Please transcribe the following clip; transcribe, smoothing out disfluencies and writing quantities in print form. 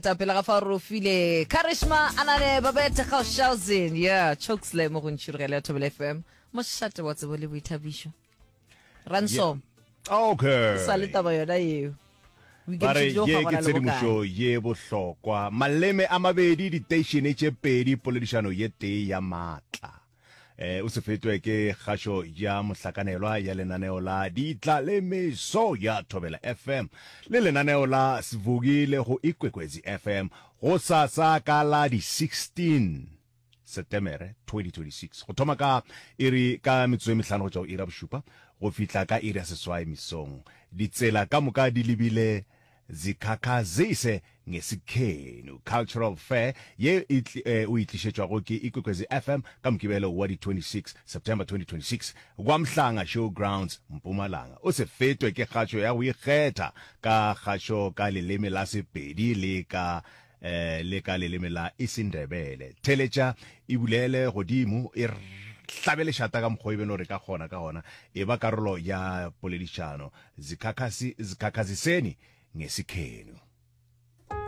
Pele ga fao re o file Karishma Anane Babette Gaushausen yeah Chokeslam mo go ntšhirogelo ya Thobela FM mošate wa tsebo le boithabišo Ransom Okay. sa le taba yona yeo Ba re ye ke tshedimošo ye bohlokwa. Maleme a mabedi, diteišene tše pedi, poledišano ye tee ya maatla. Eh, o se fetwe ke kgašo ya mohlakanelwa ya lenaneo la Ditla le Meso ya Thobela FM le lenaneo la Sivukile go Ikwekwezi FM gosasa ka la di 16 Setemere 2026 go thoma ka iri ka metsotso e mehlano go tšwa go iri ya bošupa go fihla ka iri ya seswai mesong. Ditsela ka moka di lebile Zikhakhazise Ngesikhenu Cultural Fair ye e eh, o e tlišetšwago ke Ikwekwezi FM ka Mokibelo wa di 26 September 2026 kwa Mhlanga Show Grounds, Mpumalanga. O se fetwe ke kgašo ya go ikgetha ka kgašo ka leleme la Sepedi le ka eh, le ka leleme la Isindebele. Theletša e bulele godimo e hlabe lešata ka mokgwa e beno re ka kgona ka gona. E ba karolo ya poledišano. Zikhakhasi, zikhakhaziseni ngesikhenu.